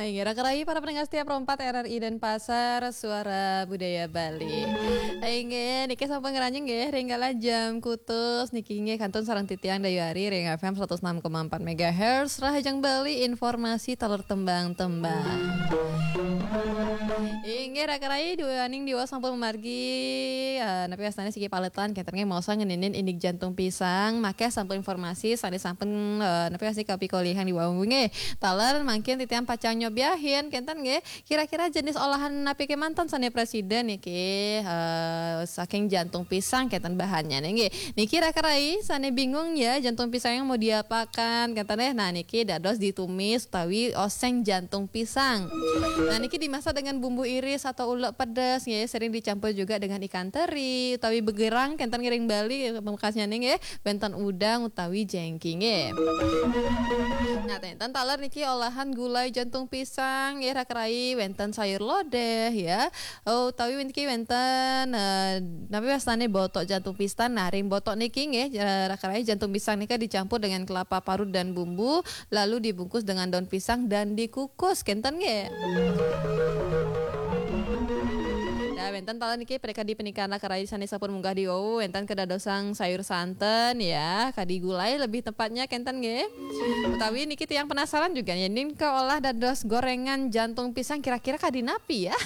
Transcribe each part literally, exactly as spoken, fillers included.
Inggih, raka rayi para pendengar setia Pro empat R R I Denpasar, Suara Budaya Bali. Inggih, niki sampun ngranjing nggih, ring galah jam kutus niki nggih kantun sareng titiang Dayu Ari ring F M seratus enam koma empat megahertz, Rahajeng Bali, informasi taler tembang-tembang. Inggih, raka rayi duaning diwaos sampun mamargi, eh, napi wastane siki paletan, kenten nggih maosang ngeninin indik jantung pisang, makeh sampun informasi, sane sampun, eh, napi wastane kapikolihan diwaos nggih. Taler mangkin titiang pacang nyobiahin, kenten nggih. Kira-kira jenis olahan napi kemanten sane prasida niki, eh, saking jantung pisang kenten bahannya nggih. Niki raka rayi sane bingung ya, jantung pisang yang mau diapakan, kenten nggih. Nah, niki dados ditumis utawi oseng jantung pisang. Nah, niki dimasak dengan bumbu iris atau ulek pedes nggih, sering dicampur juga dengan ikan teri utawi begerang, kenten ngiring Bali pamekasnya nggih. Wenten udang utawi jengking nggih. Nah, ten Ten taler niki olahan gulai jantung pisang nggih, raka rayi, wenten sayur lodeh ya. Oh, utawi niki wenten, eh, napi wastane botok jantung pisang. Nah, ring botok niki nggih, eh, raka rayi, jantung pisang nika dicampur dengan kelapa parut dan bumbu, lalu dibungkus dengan daun pisang dan dikukus, kenten nggih. Ya, wenten taler niki prekadi peningkaan raka rayi sane sampun munggah diwaos, wenten kedadosang sayur santen ya, kadi gulai lebih tepatnya, kenten nggih. Utawi niki tiang penasaran juga, yen nika olah dados gorengan jantung pisang, kira-kira kadi napi ya?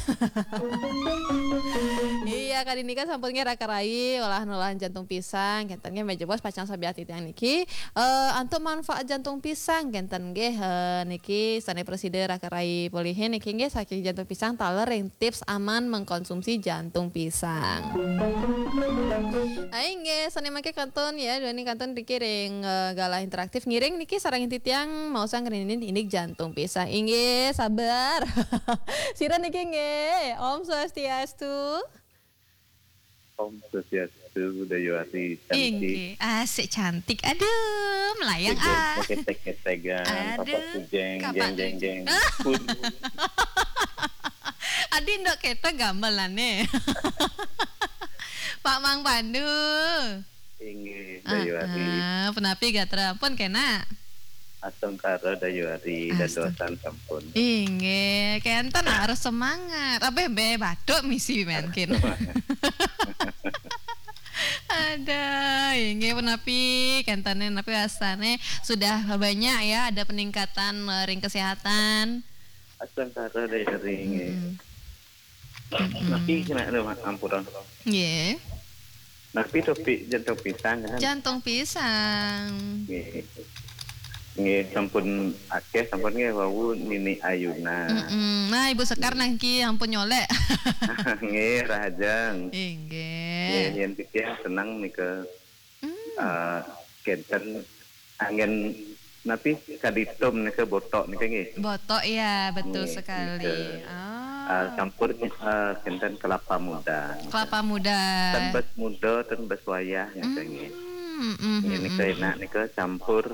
Iya, kadi nika sampun nggih raka rayi, olahan-olahan jantung pisang, kenten nggih, menawi pacang sobiah titiang niki. Eh, antuk manfaat jantung pisang, kenten nggih, eh, niki sane prasida raka rayi pulihin niki nggih, saking jantung pisang taler ring tips aman mengkonsumsi jantung pisang. Ayo nggih, sane mangke kantun ya, duaning kantun niki ring, eh, galah interaktif ngiring niki sareng titiang maosang ngeninin indik jantung pisang. Inggih, sabar. Sira niki nggih, Om Swastiastu. Om Swastiastu, Dayu Ari, cantik. Inggih, asik cantik. Aduh, melayang ah. Ketek-ketekan, Aduh, kapak pujeng, kapak jeng, jeng, pujeng. Jeng. Pun. Adi ndok keto gamelane. Pak Mang Pandu. Inggih, Dayu Ari. Ah, ah, punapi gatra? Pun kena. Astungkara Dayu Ari, Astun- dadosan sampun. Inggih, kenten harus semangat. Abeh be batuk misi mangkin. Ada, inggih punapi, kentene napi wastane sudah banyak ya ada peningkatan, eh, ring kesehatan. Astungkara Dayu Ari, inggih. Mm-mm. Mm-mm. Napi kena ada, Mak, ampura. Nggih. Napi topik jantung pisang kan? Jantung pisang. Nggih. Nggih, sampun akeh, sampun nggih wau Nini Ayuna. Mm-mm. Nah, Ibu Sekar nangki ampun nyolek. Nggih, rahajeng. Inggih. Nggih, yen titiang seneng nika. Hmm. Eh, kenten anggen napi kadi tum nika botok nika nggih. Botok, ya, betul sekali. Nggih, nika. Ah. Eh, campur, eh, kenten kelapa muda. Kelapa muda. Ten bes muda, ten bes wayah nika nggih. Hmm, hmm, nggih, hmm, nika hmm, enak nika campur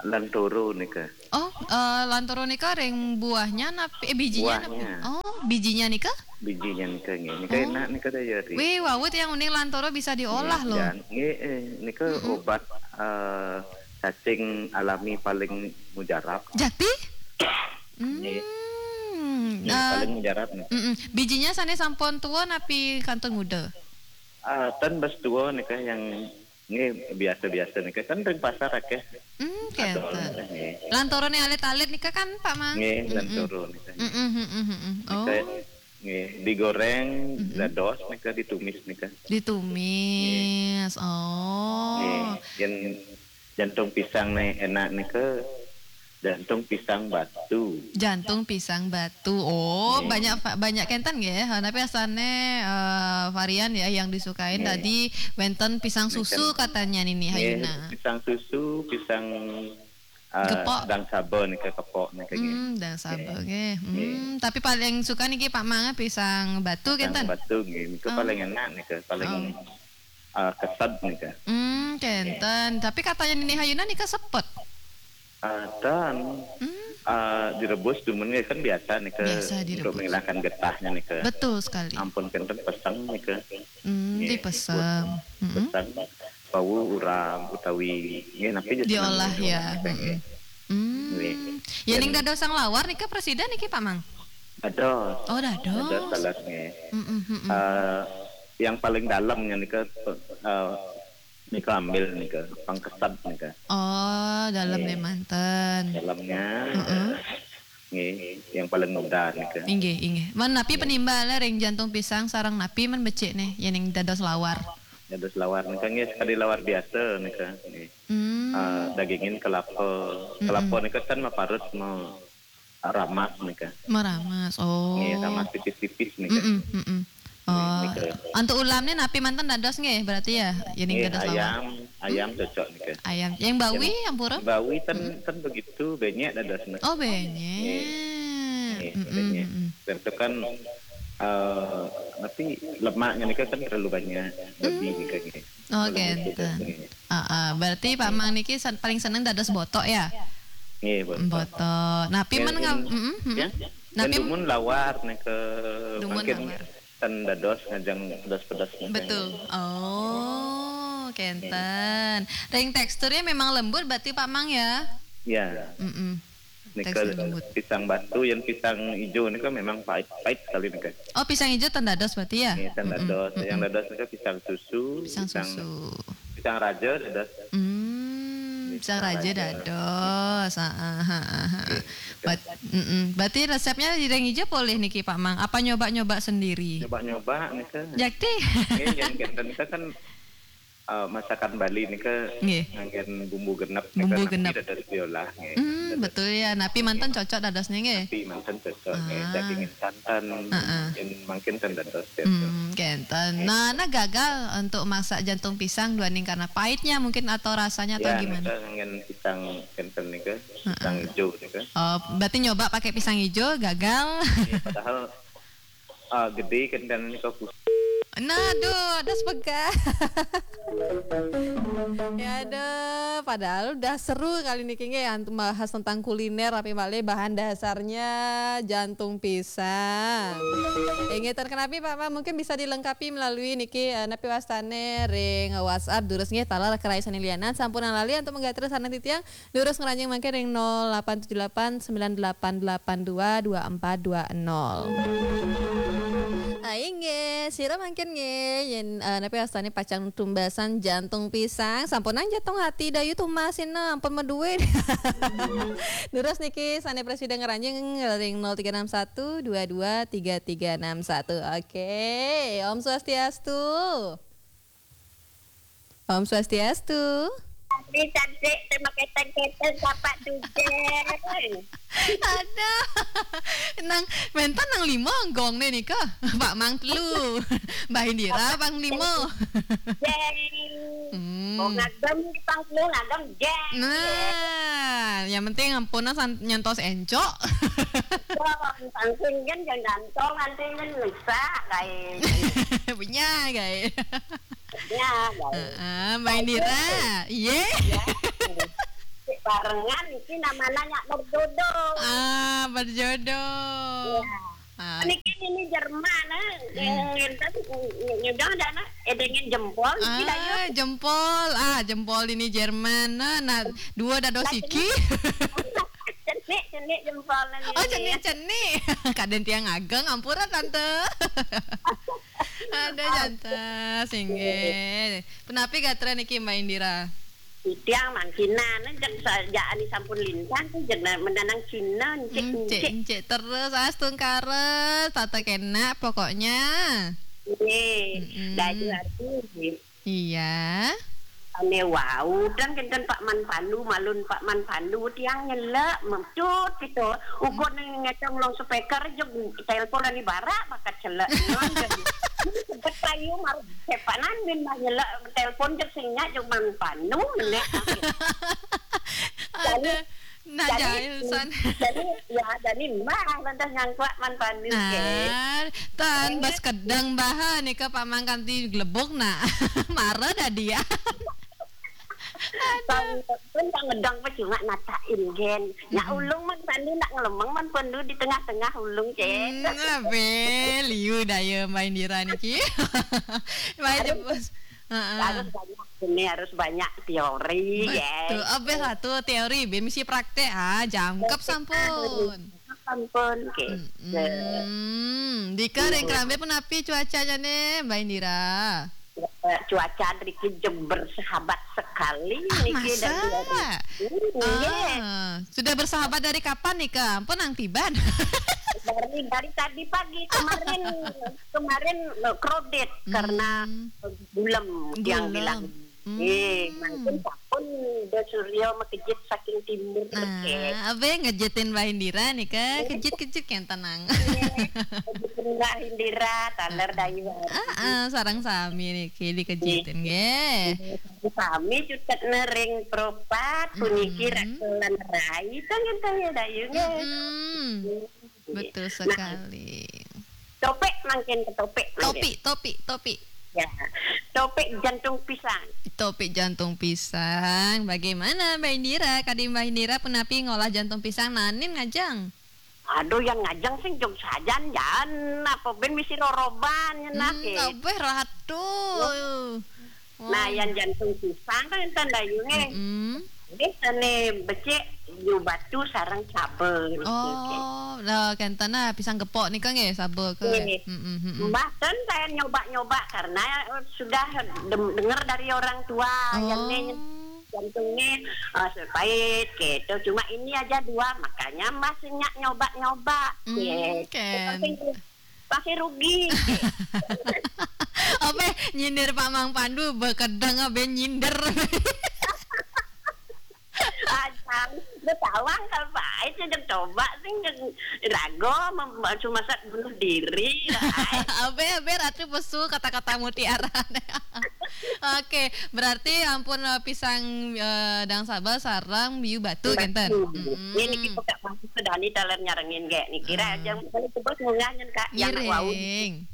lantoro nika. Oh, eh, lantoro nika ring buahnya napi, eh, bijinya napi? Buahnya. Oh, bijinya nika? Bijinya nika nggih. Nika enak nika, Dayu Ari. Wih, wau tiang uning lantoro bisa diolah loh. Nggih, jan-, nggih, eh, nika obat, eh, cacing alami paling mujarab. Jati? Nggih. Hmm. Nggih, eh, paling mujarab nih. Mm-mm. Bijinya sane sampun tua napi kantun muda? Ah, ten bes tua nika yang nggih biasa-biasa nika kan ring pasar akeh. Hmm, adol kenten. Nggih. Lantorone alit-alit nika kan, Pak Mang? Nggih, mm-mm, lantoro nika. Mm-mm, mm-mm, mm-mm. Nika, oh, nggih, digoreng, mm-mm, dados nika, ditumis nika. Ditumis. Nggih. Oh. Nggih, yen jantung pisang ne enak nika, jantung pisang batu. Jantung pisang batu. Oh, nggih, banyak va-, banyak kenten nggih. Ha, napi asane, eh, varian ya yang disukain, nggih, tadi wenten pisang susu katanya Nini Hayuna. Nggih, pisang susu, pisang, eh, gepok. Dang saba nika, kepok nika nggih. Hmm, dang saba nggih. Nggih. Hmm, tapi paling suka niki Pak Mang pisang batu kenten. Pisang batu nggih, nika paling enak nika, paling, oh, eh, kesed nika. Hmm, kenten. Nggih. Tapi katanya Nini Hayuna nika sepet. Ah, ten. Hmm. Ah, direbus dumun nggih kan biasa nika. Biasa direbus. Untuk menghilangkan getahnya nika. Betul sekali. Ampun kenten peseng nika. Hmm, nggih, dipesem. Dipun peseng. Mm-mm. Wau uram utawi nggih napi aja diolah seneng ya. Diolah nika, mm-mm, nggih. Hmm. Nggih. Yén ning dados sang lawar nika presida niki, Pak Mang? Dados. Oh, dados. Dados, dados nggih. Mm-mm, mm-mm. Eh, yang paling dalamnya nika, eh, nika ambil nika, pangkesab nika. Oh, dalam nggih. Nggih manten. Dalamnya, heeh, nggih, yang paling muda nika. Inggih, inggih. Man napi, nggih, penimbale ring jantung pisang sareng napi man becik nih, yén ning dados lawar? Dados lawar nika nggih, sekadi lawar biasa nika nggih. Hmm. Eh, dagingin kelapa. Mm-mm. Kelapa nika kan maparut ma-, ramas nika. Meramas. Oh. Nggih, ramas tipis-tipis nika. Mm-mm, mm-mm. Oh. Nggih, nika. Antuk ulamnya napi manten dados nggih, berarti ya? Yén ning nggih, dados lawar. Ayam, ayam, hmm, cocok nika. Ayam. Yang bawi, yang, ampura? Bawi ten, mm-mm, ten begitu banyak dados nika. Oh, banyak. Nggih. Nggih, mm-mm, banyak. Mm-mm. Dan itu kan, eh, napi, lemaknya nika kan terlalu banyak. Lebih, hmm, nika nggih. Oh, kenten. Heeh, berarti Pak Mang niki sen-, paling seneng dados botok ya? Nggih, botok. Botok. Napi men ngam-, mm, mm. Ya? Napi dumun lawar nika mangkin lawar. Ten dados ngajeng pedas-pedas nika. Betul. Oh, kenten. Ring teksturnya memang lembut berarti Pak Mang ya? Ya. Mm-mm. Nika tekstur lembut. Pisang batu, yang pisang hijau nika memang pahit, pahit sekali nika. Oh, pisang hijau ten dados berarti ya? Nggih, ten dados. Mm-mm, mm-mm. Yang dados nika pisang susu, pisang susu. Pisang raja dados. Hmm, pisang raja dados. Heeh, heeh, heeh. Nggih, betul. Bat-, mm-mm. Berarti resepnya ring hijau polih niki, Pak Mang? Apa nyoba-nyoba sendiri? Nyoba-nyoba nika. Jakti? Nggih, yang kenten nika kan eh, masakan Bali nika nggih. Nganggén bumbu genep nika. Bumbu genep. Napi dados diolah nggih. Hmm, dados betul ya. Napi manten cocok dadosnya nggih. Napi manten cocok nggih. Ah. Dagingin santan, heeh, mungkin mangkin ten dados ya. Hmm, kenten. Nggih. Nah, nah gagal untuk masak jantung pisang duaning karena pahitnya mungkin atau rasanya atau ya, gimana? Nika nganggén pisang kenten nika, heeh, pisang hijau nika. Oh, berarti nyoba pakai pisang hijau gagal. Nggih, padahal ah, gede kenten nika. Nah, aduh, ada sepegat. Ya ada, padahal udah seru kali niki nggih, antum bahas tentang kuliner, tapi malih bahan dasarnya jantung pisang. Inggih, ten kenapi, Pak, Pak, mungkin bisa dilengkapi melalui niki, eh, napi wastane ring WhatsApp, durus nggih, taler kerai sane lianan, sampunang lali antuk manggatur sareng titiang, durus ngranjing mangkin ring nol delapan tujuh delapan sembilan delapan delapan dua dua empat dua nol. Ah, inggih, sira mangkin nggih, yén, eh, napi wastane pacang tumbasan jantung pisang, sampunang jantung hati, dayu tumbasina, ampun madué. Durus niki sane prasida ngranjing ring nol tiga enam satu dua dua tiga tiga enam satu. Oke, Om Swastiastu. Om Swastiastu. Kami cantik, terima keteng-keteng, Bapak Dujeng. Aduh. Nang, menten nang lima gong nih nika. Pak Mang telu. Mbah Indira pang lima. Jeng. Hmm. Oh, ngagem pang telu, ngagem jeng. Nah, yang penting ampuna san-, nyantos encok. Wah, langsung kan jangan gantong, nanti kan lusa, guys. Punya, guys. Ya, baik. Heeh, Mbak Indira. Iya. Ya. Barengan iki namanya nyak berjodoh. Ah, berjodoh. Ya. Ah. Niki ini Jerman, eh. Hmm. Yang ngenten, nyudah dana, edengin jempol, iki dayu. Ah, jempol. Ah, jempol ini Jerman. Nah, nah, dua dados iki. Cenik, cenik jempol nang. Oh, ini. Cenik, cenik. Kadén tiang ageng, ampura, Tante. Ada jantas, inggih. Punapi gatra niki, Mbak Indira? Tiang mangkinan, jeg sa-, jaan sampun lintang, jeg na-, mendanang Cina, encik, hmm, encik, encik. Encik terus, astungkara, tata kena pokoknya. Nggih, mm-mm. Dadi arti, nggih. Iya. Ane wau, dan kenten Pak Man Pandu, malun Pak Man Pandu, tiang nyelek, mecut gitu. Ukur ning ngecong long speaker, jeg telepon ani barak, bakat celek. Ngon, jeg. Ini sebet payu, mar, sepanan, min mah nyelek, telepon, jeg sing nyak, jeg Man Pandu, melek. Ada. Nah, jadi, jahil san. Jadi, ya, jadi mbah lantas nyangkuak Man Pandu, nah, ke. Tan, bas kedeng, Mbah, nika pamang kanti glebuk, nah. Mara dah dia. Aduh. Pun tak ngedang percuma natain, gen. Nya, mm-mm, ulung Man Pandu nak ngelemeng, Man Pandu di tengah-tengah ulung, ke. Hmm, abe, liu daya Mbak Indira niki. Mbak Jebus. Heeh. Harus banyak ini, harus banyak teori, ya. Betul. Abeh lah tu teori, ben mesti praktek. Ah, jangkep sampun. Sampun, oke. Mm-mm. Dika ring kerambe punapi cuacanya nih, Mbak Indira? Eh, cuaca driki je bersahabat sekali. Ah, niki masa? Dari luar negeri. Iya. Ah, sudah bersahabat dari kapan nih, Kak? Ampun, nang tiban. Dari, dari tadi pagi kemarin, kemarin, eh, crowded karena gulem yang bilang. Hmm. Eh, mungkin pun de Suryo makejit saking timur. Ah, oke. Abe ngejitin Mbah Indira nih, Kak. Kejit-kejit yang tenang. Kejit Mbah Indira, taler dayu. Ah, ah, sarang sami nih, Ki, dikejitin, nggih. Sami cutet nering propat, puniki rak kelan rai, tong, tong, ya, dayu, nggih. Mm-mm. Betul sekali. Nah, topik mangkin ke topik mangkin. Topik, topik, topik. Ya, topik jantung pisang. Topik jantung pisang. Bagaimana, Mbak Indira? Kadi Mbak Indira punapi ngolah jantung pisang, nanin ngajeng? Aduh, yang ngajeng sing jog sajan, jan. Apa ben misi roroban, nyenak, hmm, eh. Kabeh ratu. Nah, yang jantung pisang kan enten dayunge. Mm-mm. Ini tane becik, yu batu sareng cabe. Oh, lah kenten nah pisang gepok nika nggih, sabe ke. Nggih. Mm-mm, mm-mm. Mbah ten saya nyoba-nyoba karena, eh, sudah dem-, dengar dari orang tua yang ni jantungnya, eh, pahit gitu. Cuma ini aja dua, makanya Mbah senyak nyoba-nyoba. Hmm, gitu. Ken. Pasti rugi. Apa nyindir Pak Mang Pandu, bekedeng apa nyindir? Ajang, betawang kalau pahit, ya, coba sih, rago, mem-, cuma saat bunuh diri. Abe, abe, Ratu Pesu, kata-kata mutiara. Oke, berarti ampun, eh, pisang, eh, dang sabar sarang biu batu, batu. Kenten. Mm-mm. Ini kita masuk ke Dani taler nyarengin, gek. Nih, kira aja, kalau sebut munggahnya, Kak, yang wau. Ngiring.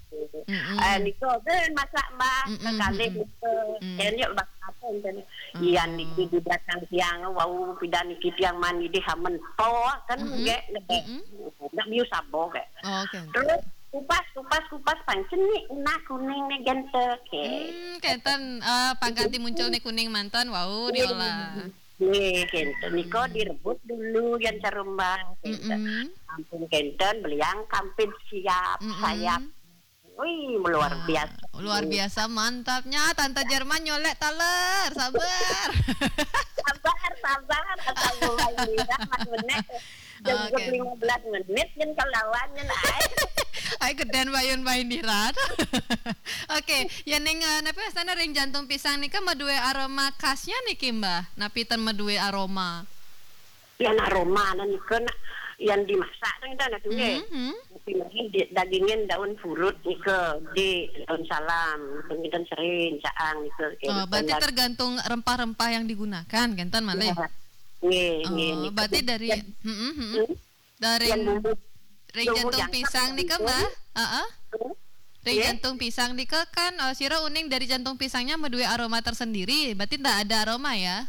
Mm-mm. Eh, niku, eh, masak, Mbah, mm-mm, sekali niku. Mm. Jadi, Mbah, apa, enten? Iya, niki di belakang tiang, wau, pidan niki tiang mani di hamen po, kan, mm-mm, gek, gek. Mm-mm. Ndak biu sabo, gek. Oh, oke. Terus, kupas, kupas, kupas, pancen nih, nah, kuning nih, gente, gek. Hmm, kenten, eh, pangkat di muncul nih kuning mantan, wau, diolah. Nih, kenten. Niko direbus dulu, yang carumbang, kenten. Mm-mm. Ampun, kenten, beliang kampit siap, mm-mm, sayap. Wih, luar biasa. Luar biasa, mantapnya. Tante Jerman nyolek taler. Sabar. Sabar, sabar. Asal mulai lidah, Mas Menek. Jam lima belas menit, yen kelawan, yen ai. Ai, geden bayun Mbah Indira. Oke, ya ning, eh, napa sana ring jantung pisang nika maduwe aroma khasnya niki, Mbah? Napi ten maduwe aroma? Yan aroma nika nak, yan dimasak to, enten, aduh, nggih. Mhm. Tapi mungkin di, dagingin daun purut nika, di daun salam, enten sering, caang nika, oh, berarti tergantung rempah-rempah yang digunakan, kenten malih? Ya. Nggih, nggih, oh, nika. Berarti dari, mm-mm, mm-mm. Hmm? Dari yang bumbu, ring bumbu jantung pisang nika, Mbah? Heeh. Hmm? Ring jantung pisang nika kan, eh, sira uning dari jantung pisangnya maduwe aroma tersendiri, berarti ndak ada aroma ya?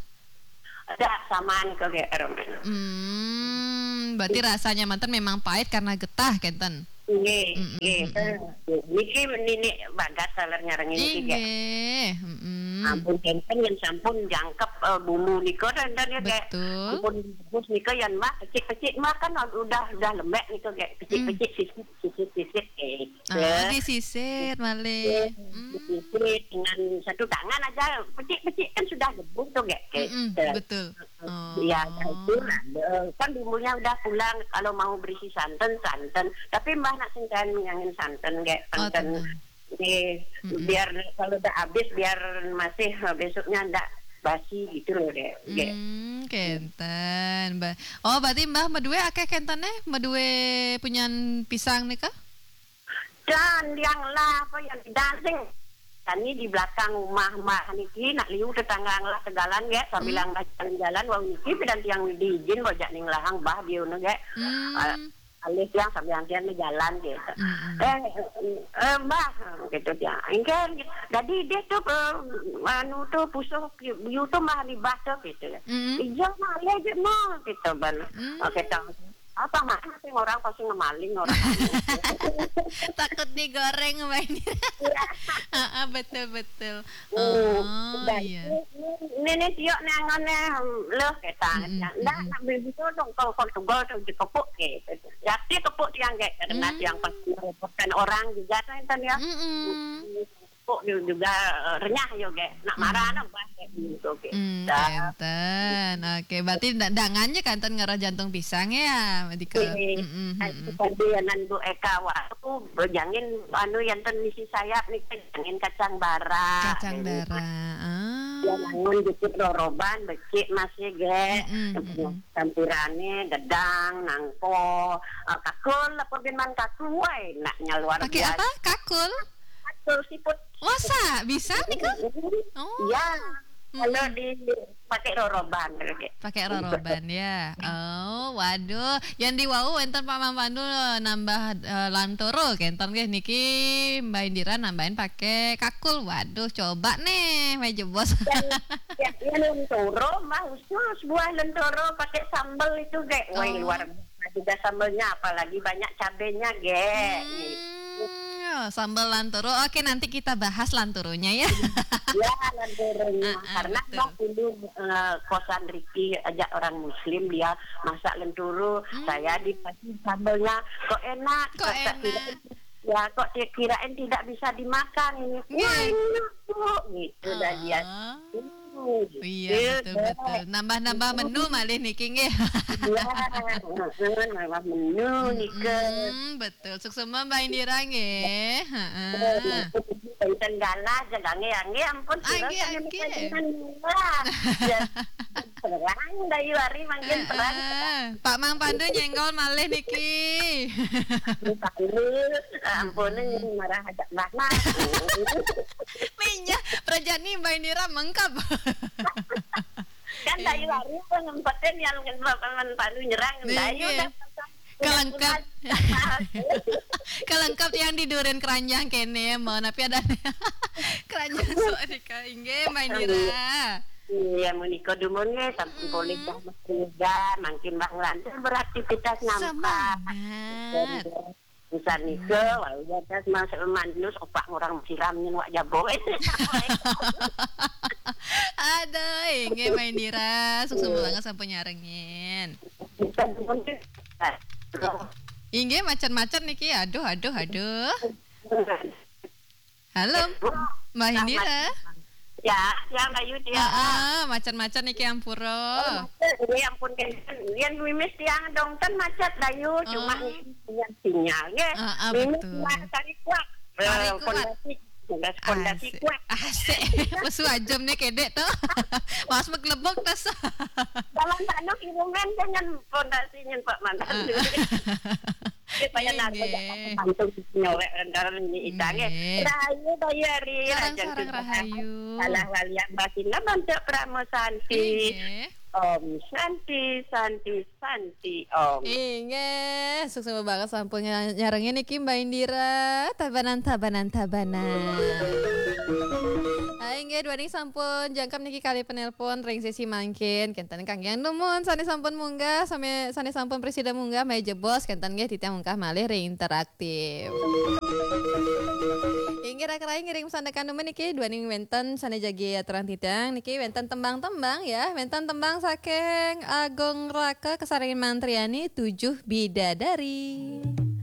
Ada, sama nika, gek, aroma. Hmm, berarti rasanya manten memang pahit karena getah, kenten? Nggih, mm-mm, nggih. Mm-mm. Niki nini bagas taler nyarengin niki, gek. Inggih, mm-mm. Ampun, kenten yang sampun jangkep, eh, bumbu nika, dan, dan ya, gek. Betul. Ampun, bus nika yang Mbah, pecik-pecik Mbah kan udah, udah lembek nika, gek. Pecik-pecik, sisip, sisip, sisip, eh. Ah, disisir malih. Iya, hmm. Disisir dengan satu tangan aja, pecik-pecik kan sudah debu tuh, gek. Mm-mm, gitu. Betul. Oh. Ya, itu lah. Eh, kan bumbunya udah pulang, kalau mau berisi santan, santan. Tapi Mbah nak sing kan ngangin santan, gek. Oh, santan. Tenang. Nggih, mm-mm, biar kalau udah habis, biar masih, eh, besoknya ndak basi gitu loh, gek. Gek. Hmm, kenten, Mbah. Oh, berarti Mbah maduwe akeh kentene, maduwe punyan pisang nika? Dan yang lah, apa yang di dancing. Kami di belakang rumah Mbah niki, nak liu tetangga ngelah tegalan, gek, sambil, hmm, ngelah jalan-jalan, wau niki pidan tiang diizin, bojak ning lahang, Mbah, biu ne, gek. Hmm. Eh, alih tiang sambil tiang ne jalan, gitu. Hmm. Eh, eh, Mbah, gitu tiang. Engke, jadi dia tuh, eh, anu tuh, pusuh, biu tuh, Mbah, di Mbah tuh, gitu. Hmm. Iya, malih aja, Mbah, gitu, ban. Hmm. Oke, tong. Apa mana sih orang pasti ngemaling orang. Takut digoreng, Mbak Indira. Iya. Ah, betul betul. Hmm, Oh dan iya. ini, ini, ini siok nih angon nih, loh, ketang. Mm-mm, Ndak, mm-mm. nak beli itu dong, kalau Portugal tuh dikepuk gitu. Ya, dia kepuk tiang kayak karena Hmm. tiang pasti merepotkan orang juga tuh, enten ya. Mm-mm. Kepuk juga, eh, renyah juga. Nak marah nak bah kayak gitu. Gitu. Hmm, enten. Oke, berarti da- dangannya kanten ngarah jantung pisang ya, Mbak Dika? Iya. Mm-mm, mm-mm. Tadi anan Bu Eka waktu berjangin anu yang ten misi sayap nih, jangan kacang bara. Kacang bara. Ah. Ya, nangun dikit roroban, becik masih ge. Mm-mm, mm-mm. Campurane gedang, nangko, eh, kakul, apa bin man kakul, wah, enaknya luar Pakai biasa. Apa? Kakul? Kakul siput. Wasa bisa nih kak? Oh. Iya. Kalau Mm-mm. di pakai roroban, gitu. Pakai roroban ya. Oh, waduh. Yang di wau enten Pak Mang Pandu nambah eh, lantoro kenten nggih niki Mbak Indira nambahin pakai kakul. Waduh, coba nih, meja bos. Dan ya, ya, lentoro, mah khusus buah lentoro pakai sambal itu, ge. Wah, Oh. luar biasa juga sambalnya, apalagi banyak cabenya, ge. Hmm, sambal lantoro. Oke, nanti kita bahas lantoronya ya. Ya, lentoronya. Ah, ah, Karena betul. Mbak dulu, eh, kosan Riki ajak orang Muslim, dia masak lentoro. Hmm. Saya dikasih sambalnya, kok enak. Kok Kata enak? kirain, ya, kok dia kirain tidak bisa dimakan ini. Iya. Wah, enak, Bu, gitu dah dia. Ah. Hmm, Iya, betul deh. betul. Nambah-nambah menu malih niki nggih. Ya, heeh, nambah menu nih ke. Hmm, betul. Suksema Mbak Indira nggih. Heeh. Enten galah, jagange angge ampun, Angge, kira sama angge. Kajian murah. Ya, terang, dayu hari mangkin terang. Heeh. Pak Mang Pandu nyenggol malih niki. Dipanggil, ampun, marah ajak banget. Minyak perjani Mbak Indira mengkap. Kan dayu hari pun ngempetin yang ngempetin Pandu nyerang, dayu Iya. dah. Kelengkap. Kelengkap yang tidurin keranjang kene mau tapi ada keranjang sok dika inggih Mbak Indira. Iya, menika dumun nggih, sampun polih dah, Mas Reza, mangkin Bang Lantur beraktivitas nampak. Semangat. Misal nika, wau jadas mas manus opak orang siram nyen wak jabo. Aduh, inggih Mbak Indira, suksema banget sampun nyarengin. Inggih macet-macet niki. Aduh, aduh, aduh. Halo, Mbak Indira. Ya, ya Mbak Yudi ya. Ah, macet-macet niki ampura. Ya ampun, kan yen mimis tiang dong kan macet dayu, cuma Oh. niki punya sinyal nggih. Ah, ah, Mimis betul. Mas Tari Kuat. Tari Eh, Kuat. Fondasi, Fondasi, Fondasi Asik. Kuat. Asik. Pesu ajam nih kedek tuh. Mas meglebok tas. Kalau tak no kiriman dengan fondasinya Pak Mantan. Ah. Supaya nanti Nggih. langsung nyolek dalam ini itang ya. Nggih. Rahayu Bayari, Sarang, Rajan sarang Tuhan. rahayu. Salah walian basina bantu Pramo Santi. Nggih. Om Santi, Santi, Santi, Om. Inggih, suksema banget sampun nya- nyarengin niki Mbak Indira. Tabanan, tabanan, tabanan. Ah, inggih, duaning sampun jangkep niki kali penelpon ring sesi mangkin. Kenten kangge numun sane sampun munggah, sami sane sampun presida munggah, meja bos kenten nggih titiang munggah malih ring interaktif. Inggih, rak-rak ngiring sandekan numun niki duaning wenten sane jagi aturang titiang niki wenten tembang-tembang ya, wenten tembang saking Agung Raka kasarengin Mantriani Tujuh Bidadari.